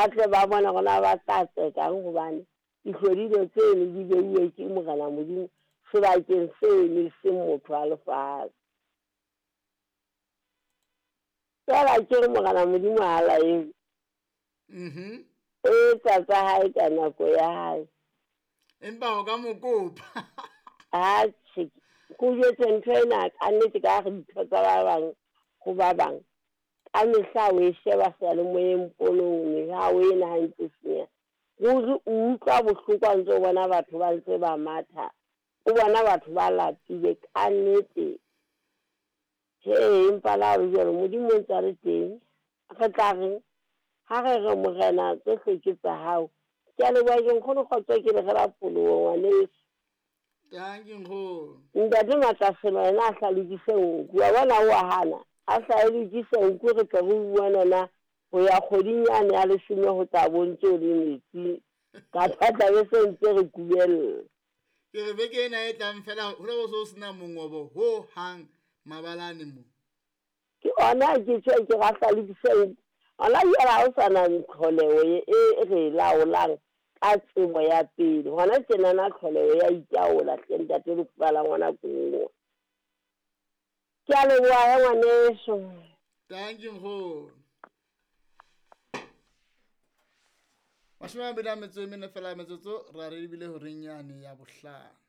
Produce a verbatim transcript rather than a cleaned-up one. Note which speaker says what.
Speaker 1: Ba tle ba bone hore na ba tla tsekang hobane dihlodilo tseno di beuwe ke Morena Modimo sebakeng seno e seng motho wa lefatshe. Feela ke re Morena Modimo ha laele.
Speaker 2: Mhm.
Speaker 1: O etsa tsa hae ka nako ya hae.
Speaker 2: Empa o ka mo kopa.
Speaker 1: Atjhe, ke o jwetse ntho ena ka nnete ka re ditho tsa ba bang ho ba bang. Ka mehla o e sheba seyalemoyeng ponong ha o ena ha ntse senyeha. Ruri o utlwa bohloko ha ntse o bona batho ba ntse ba matha. O bona batho ba lapile ka nnete. He, empa le ha ho le jwalo Modimo o ntse a le teng. Re tla reng ha re re Morena tsohle ke tsa hao. Ke a leboha ke nkgono kgotso ke le rela pholoho ngwaneso.
Speaker 2: Thank you nkgono.
Speaker 1: Ntate Matlaselo yena a hla lokise nku. Wa bona o a hana. A hla e lokise nku re tle re bue na ho ya kgweding yane ya leshome ho tla bontse o le metsi. Kapa tla be se ntse re kubella.
Speaker 2: Ke re beke ena e tlang fela ho tla bo so sena mongobo ho hang mabalane mo.
Speaker 1: Ke ona ke tjho ke ra hla lokise nku. Hona jwale ha o sa na tlholeho e e re laolang ka tsebo ya pele. Hona tjenana tlholeho ya itaola hle ntate Lekgowa la ngwana Kowa. Ke a leboha he ngwaneso.
Speaker 2: Thank you nkgono. Mashome a mabedi a metso e mene fela metsotso ra re ebile horeng yane ya bohlano.